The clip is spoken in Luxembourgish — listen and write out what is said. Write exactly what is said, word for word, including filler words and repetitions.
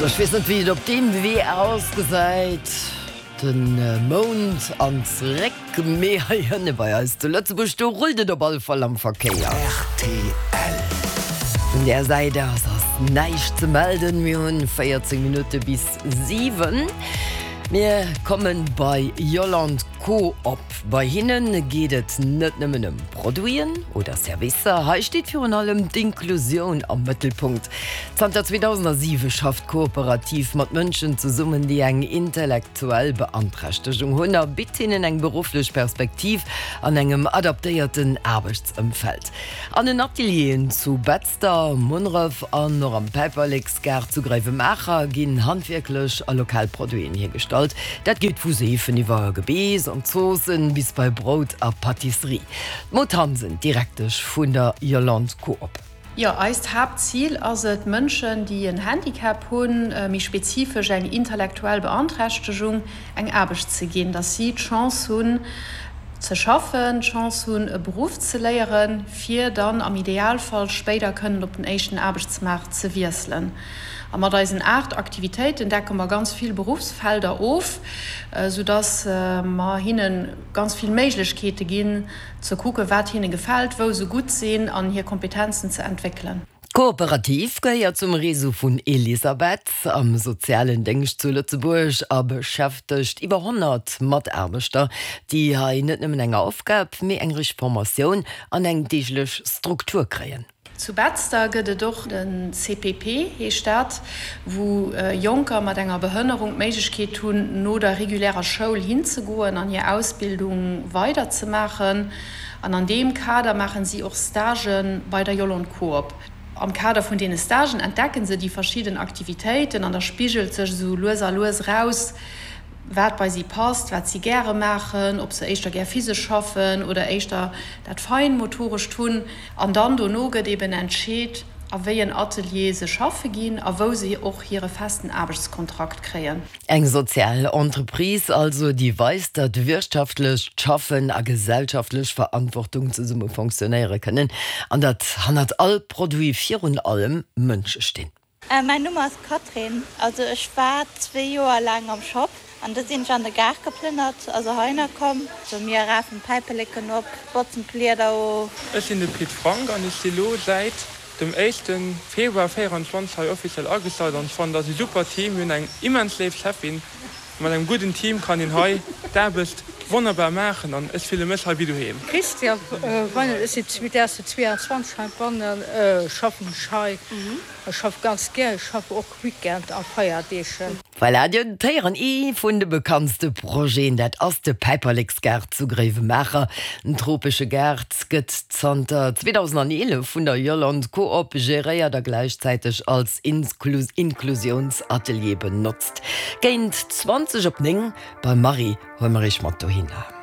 Sou, ech weess net wéi et op deem Wee ausgesäit, den Mound an zeréck, mee hei hënne bei eis zu Lëtzebuerg, do rullt et op alle Fall am Verkéier. Rtl. Vun där Säit aus ass näischt ze melden. Mir hunn véierzéng Minutte bis siwen. Mir kommen bei Yolande Coop. Bei hinne geet et net nëmmen ëm Produiten oder Servicer, hei steet virun allem d'Inklusioun am Mëttelpunkt. Zanter zweedausentsiwe schafft d'Kooperativ mat Mënschen zesummen, déi eng intellektuell Beanträchtegung hunn a bitt hinnen eng berufflech Perspektiv an engem adaptéierten Aarbechtsëmfeld. An den Atelieren zu Betzder, Munneref an och am Päiperleksgaart zu Gréiwemaacher ginn handwierklech a lokal Produiten hiergestallt. Dat geet vu Seefen iwwer Gebeess an Zoossen bis bei Brout a Pâtisserie. D'Maud Hansen, Direktesch vun der Yolande Coop. Jo, eist Haaptzil ass et, Mënschen, déi en Handicap hunn, méi spezifesch eng intellektuell Beanträchtegung, eng Aarbecht ze ginn, dass si d'Chance hunn ze schaffen, d'Chance hunn e Beruff ze léieren, fir dann am Idealfall spéider kënnen op den éischten Aarbechtsmaart ze wiesselen. A mat eisen aacht Aktivitéiten decke mer ganz vill Beruffsfelder of, soudass mer hinne ganz vill Méiglechkeete ginn, ze kucken, wat hinne gefält, wou se gutt sinn an hir Kompetenzen ze entwéckelen. D'Kooperativ gehéiert zum Réseau vun Elisabeth am sozialen Déngscht zu Lëtzebuerg a beschäftegt iwwer honnert Mataarbechter, déi hei net nëmmen eng Aufgab, mee eng richteg Formatioun an eng deeglech Struktur kréien. Zu Betzder gëtt et och de C P P heescht dat, wou Jonker mat enger Behënnerung d'Méiglechkeet hunn, no der regulärer Schoul hinzegoen an hir Ausbildung weiderzemaachen. An an deem Kader maachen si och Stagë bei der Yolande Coop. Am Kader vun deene Stagen entdecken se déi verschidden Aktivitéiten an da spigelt sech esou lues a lues eraus, wat bei si passt, wat si gäre maachen, ob se éischter gär physesch schaffen oder éischter dat Feinmotorescht hunn. An dann dono gëtt eben entscheet, a wéi en Atelier se schaffe ginn a wou se och hire festen Aarbechtskontrakt kréien. Eng sozial Entreprise also, déi weist, datt wirtschaftlecht Schaffen a gesellschaftlech Verantwortung zesumme funktionéiere kënnen an datt hannert all Produit virun allem Mënsche stinn. Mäin Numm ass Katrin. Also ech war zwee Joer laang am Shop an da sinn ech an de Gaart geplënnert, also heihinner komm. Also mir rafen d'Päiperleken op, botzen d'Blieder of. Ech sinn de Pit Frank an ech si lo säit dem éischte Februar véieranzwanzeg hei offiziell agestallt an ech fannen, dat ass e super Team. Mir hunn eng immens léif Cheffin. Mat engem gudden Team kann een hei d'Aarbecht wonnerbar maachen an ech fille mech hei wéi doheem. Christian Weinel, ech sinn zweedausendzweeanzwanzeg heibannen, schaffen ech hei. Ech schaffe ganz gär, ech schaffe och Weekend a Feierdeeg. Voilà, Dir hutt et héieren, ee vun de bekanntste Projeten, dat ass de Päiperleksgaart zu Gréiwemaacher. Den tropesche Gaart gëtt zanter zweedausendeelef vun der Yolande Coop geréiert a gläichzäiteg als Inklusiounsatelier benotzt. Géint zwanzeg op néng beim Marie huele mer iech mat dohinner.